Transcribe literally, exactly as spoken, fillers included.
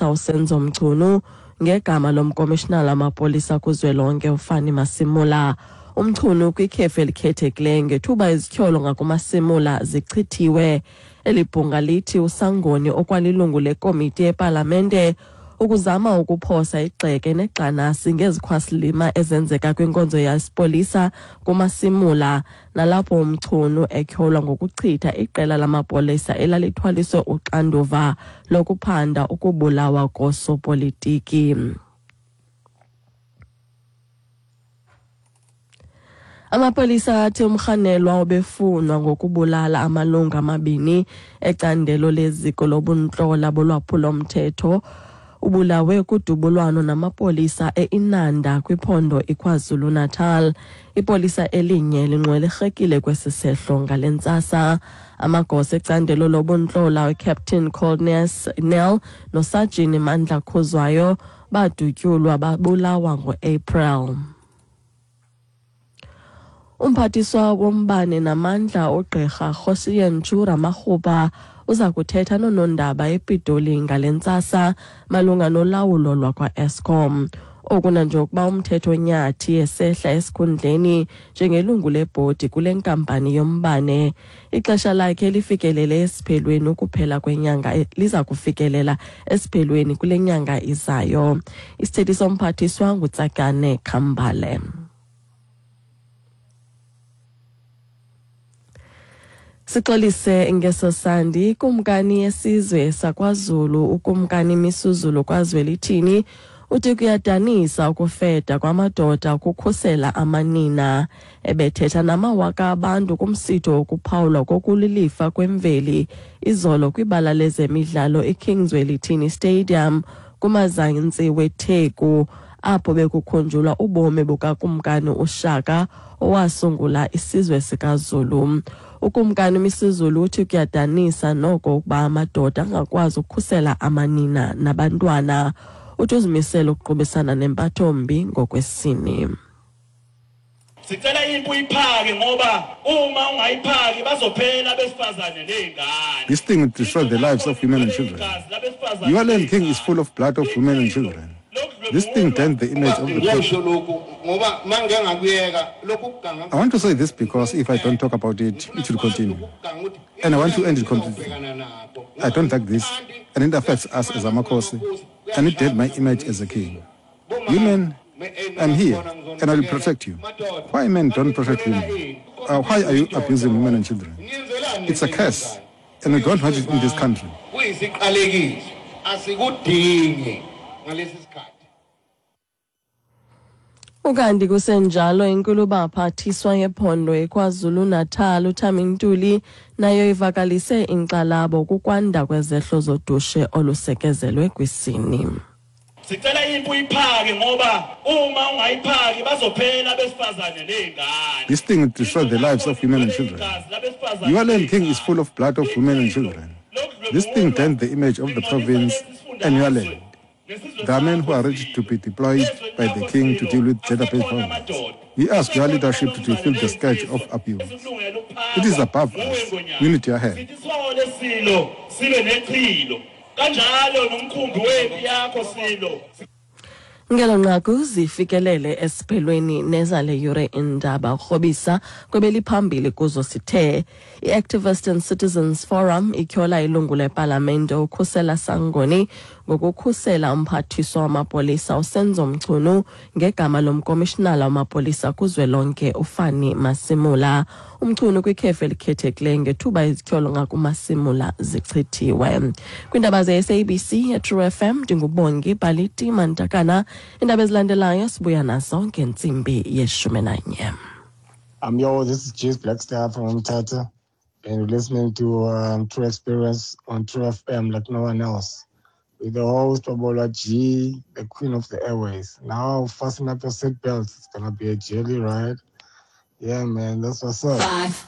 wamapolisa uSenzo Mchunu ngegama lomkomishinala wamapolisa kuzwelonke uFani Masimula. UMchunu kwikhefu elikhethekileyo ngethuba izityholo ngakuMasimula zichithiwe. Eli bhunga lithi uSangoni okwalilungu lekomiti yepalamente ukuzama ukuphosa igxeke negxanasi ngezikhwasilima ezenzeka kwinkonzo yesipolisa kuMasimula, nalapho uMchunu etyholwa ngokuchitha iqela lamapolisa elalithwaliswe uxanduva lokuphanda ukubulawa kosopolitiki. Amapolisa athi umrhanelwa obefunwa ngokubulala amalungu amabini ecandelo leziko lobuntlola bolwaphulomthetho ubulawe kudubulwano namapolisa eInanda kwiphondo iKwaZulu-Natal. Ipolisa elinye linxwelerhekile kwesi sehlo ngale ntsasa. Amagosa ecandelo lobuntlola uCaptain Coldness Nel noSajini Mandla Khuzwayo badutyulwa babulawa ngoApril. Umphathiswa wombane namandla uGqirha Kgosientsho Ramokgopa uza kuthetha noonondaba ePitoli ngale ntsasa malunga nolawulo lwakwa-Eskom. Oku nanjengokuba uMthetho Nyathi esehla esikhundleni njengelungu lebhodi kule nkampani yombane. Ixesha lakhe lifikelele esiphelweni ukuphela kwenyanga liza kufikelela esiphelweni kule nyanga izayo. Isithethi somphathiswa nguTsakane Khambale. Sixolise ngeso sandi kumkani yesizwe sakwaZulu uKumkani Misuzulu kwaZwelithini uthi kuyadanisa ukufeda kwamadoda ukukhusela amanina. Ebethetha namawaka abantu kumsitho wokuphawulwa kokulilifa kwemveli izolo kwibala lezemidlalo iKing Zwelithini Stadium kumazantsi weTheku, apho bekukhunjulwa ubomi bukaKumkani uShaka owasungula isizwe sikaZulu. UKumkani Misuzulu uthi kuyadanisa noko ukuba amadoda angakwazi ukukhusela amanina nabantwana. Uthi uzimisele ukuqubisana nempathombi ngokwesini. Sicela impu iphake ngoba uma ungayiphaki bazophela abesifazane nezingane. This thing will destroy the lives of women and children. Your land king is full of blood of women and children. This thing dents the image of the people. I want to say this because if I don't talk about it, it will continue. And I want to end it completely. I don't like this, and it affects us as Amakhosi, and it did my image as a king. Women, I'm here, and I will protect you. Why men don't protect women? Uh, why are you abusing women and children? It's a curse, and we don't want it in this country. Ukanti kusenjalo inkulubaphathiswa yephondo eKwaZulu-Natal uThami Ntuli nayo ivakalise inkxalabo kukwanda kwezehlo zodushe olusekezelwe kwisini. Sicela impu iphake ngoba uma ungayiphaki bazophela abesifazane nezingane. This thing will destroy the lives of women and children. Your land king is full of blood of women and children. This thing dents the image of the province and your land. There are men who are ready to be deployed by the king to deal with gender-based violence. We ask your leadership to defeat the scourge of abuse. It is above us. We need your help. Ngelo nqaku zifikelele esiphelweni nezale yure indaba ukrobisa kwebeliphambili kuzo sithe i-Activist and Citizens Forum ityhola ilungu lepalamente uKhusela Sangoni ngokukhusela umphathiswa wamapolisa uSenzo Mchunu ngegama lomkomishinala wamapolisa kuzwelonke uFani Masimula. UMchunu kwikhefu elikhethekileyo ngethuba izityholo ngakuMasimula zichithiwe. Kwiindaba ze-S A B C eTrue F M ndinguBongi Baliti Mantakana. Iindaba ezilandelayo sibuya nazo ngentsimbi yeshumi nanye. I'm yo, this is James Blackstar from Mthatha, and you're listening to um, True Experience on True F M like no one else. With the host, Babola G, the queen of the airways. Now, fasten up your seatbelts. It's gonna be a jelly ride. Yeah, man, that's what's up. Five.